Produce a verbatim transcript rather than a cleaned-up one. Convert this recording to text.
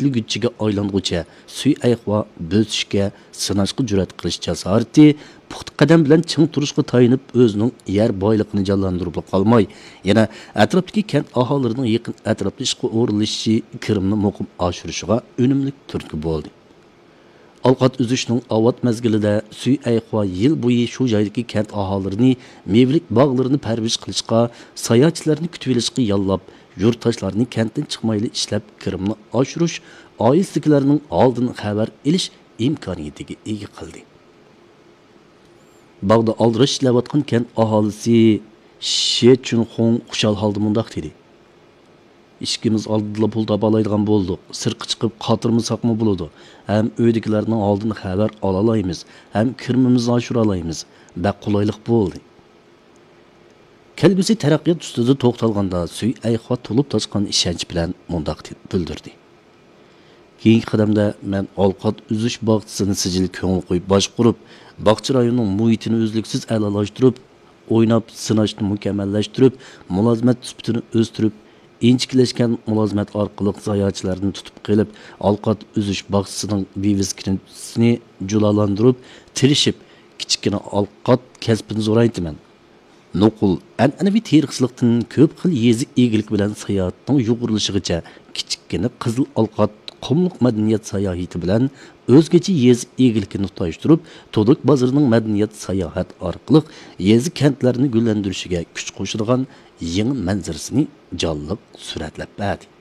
يېتىلگۈچىگە ئايلانغۇچە سۈي ئەيخۇا بۆسۈشكە، سىناشقا جۈرئەت قىلىش جاسارىتى، پۇختا قەدەم بىلەن چىڭ تۇرۇشقا تايىنىپ، ئۆزىنىڭ يەر بايلىقىنى جانلاندۇرۇپلا قالماي، يەنە ئەتراپتىكى كەنت ئاھالىلىرىنىڭ يېقىن ئەتراپتا ئىشقا ئورۇنلىشىشى، كىرىمنى مۇقىم ئاشۇرۇشىغا ئۈنۈملۈك تۈرتكە بولدى. ئالقات ئۈزۈشنىڭ ئاۋات مەزگىلىدە سۈي ئەيخۇا يىل بويى شۇ جايدىكى كەنت ئاھالىلىرىنى مېۋىلىك باغلىرىنى پەرۋىش قىلىشقا، ساياھەتچىلەرنى كۈتۈۋېلىشقا ياللاپ، يۇرتداشلارنى كەنتتىن چىقمايلى ئىشلەپ، كىرىمنى ئاشۇرۇش، ئائىلىسىدىكىلەرنىڭ ھالىدىن خەۋەر ئېلىش ئىمكانىيىتىگە ئىگە قىلدى. باغدا ئالدىراش ئىشلەۋاتقان كەنت ئاھالىسى شې چۈنخۇڭ خۇشال ھالدا مۇنداق دېدى: «ئىشىكىمىز ئالدىدىلا پۇل تاپالايدىغان بولدۇق. سىرتقا چىقىپ قاتۇرمىساقمۇ بولىدۇ. ھەم ئۆيدىكىلەرنىڭ ھالىدىن خەۋەر ئالالايمىز، ھەم كىرىمىمىزنى ئاشۇرالايمىز. بەك قولايلىق بولدى.» كەلگۈسى تەرەققىيات ئۈستىدە توختالغاندا، سۈي ئەيخۇا تولۇپ تاشقان ئىشەنچ بىلەن مۇنداق بىلدۈردى: «كېيىنكى قەدەمدە مەن ئالقات ئۈزۈش باغچىسىنى سىجىل كۆڭۈل قويۇپ باشقۇرۇپ، باغچە رايونىنىڭ مۇھىتىنى ئۈزلۈكسىز ئەلالاشتۇرۇپ، ئويناپ سىناشنى مۇكەممەللەشتۈرۈپ، مۇلازىمەت سۈپىتىنى ئۆستۈرۈپ، ئىنچىكىلەشكەن مۇلازىمەت ئارقىلىق ساياھەتچىلەرنى تۇتۇپ قېلىپ، ئالقات ئۈزۈش باغچىسىنىڭ ۋىۋىسكىنىسىنى جۇلالىندۇرۇپ، تىرىشىپ، كىچىككىنە ئالقات كەسپىنى زورايتىمەن. نوقۇل، ئەنئەنىۋى تېرىقچىلىقتىن كۆپ خىل يېزا ئىگىلىكى بىلەن ساياھەتنىڭ يۇغۇرۇلۇشىغىچە، كىچىككىنە قىزىل ئالقات قۇملۇق مەدەنىيەت ساياھىتى بىلەن ئۆزگىچە يېزا ئىگىلىكىنى تۇتاشتۇرۇپ، تۇدۇك بازىرىنىڭ مەدەنىيەت ساياھەت ئارقىلىق يېزا كەنتلەرنى گۈللەندۈرۈشىگە كۈچ قوشىدىغان يېڭى مەنزىرىسىنى جانلىق سۈرەتلەپ بەردى.»